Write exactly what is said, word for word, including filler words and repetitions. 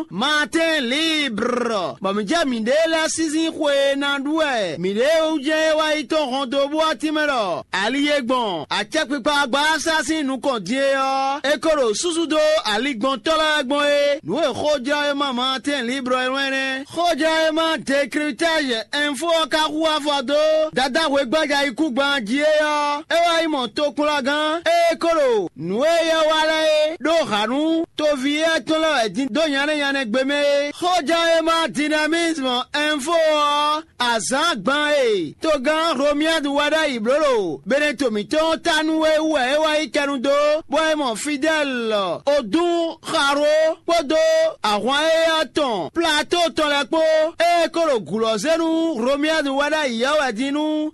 Matin Libre, bɔ mǐ jɛ mǐɖée lɛ́ɛ sísí xwe e ná ɖu wɛ mǐɖée wú jɛ́n é wá yi tɔ́n hɔn dó bú ɔ́ tínmɛ ɖɔ ali e gbɔn acɛkpikpa gbáásá sín nukɔn din é ɔ́, é ko ɖo súsú dó aligbɔntɔ́ lɛ́ɛ gbɔn é. Nǔ e xójlɔ́wéma Matin Libre e wlɛ́n nɛ́. Xójlɔ́wéma Décryptage Info ɔ́ ka hu afɔ dó dadá hwegbájayikúngban jí é ɔ́, é wá yi mɔ tokplɔ́gán e ko ɖo nǔ e yɛ wa lɛ́ɛ é ɖó hǎ nú toví éyɛ́ tɔn lɛ́ɛ wɛ din dó nyanɛ́ nyanɛ́ gbe mɛ é. Xóján e ma Dynamisme Info ɔ́, azǎn gban e togán Romuald wa ɖ'ayǐ bló ɖo Beneto mǐtɔn ta nú é wú wɛ é wá yi kɛnu dó, bɔ é mɔ Fidɛ́l Odún Xaró kpódó ahwan éyɛ́ tɔn Plato tɔn lɛ́ɛ kpó, ée é ko ɖo gǔ lɔ́ zé nú Romuald wa ɖ'ayǐ ɔ́ wɛ din nú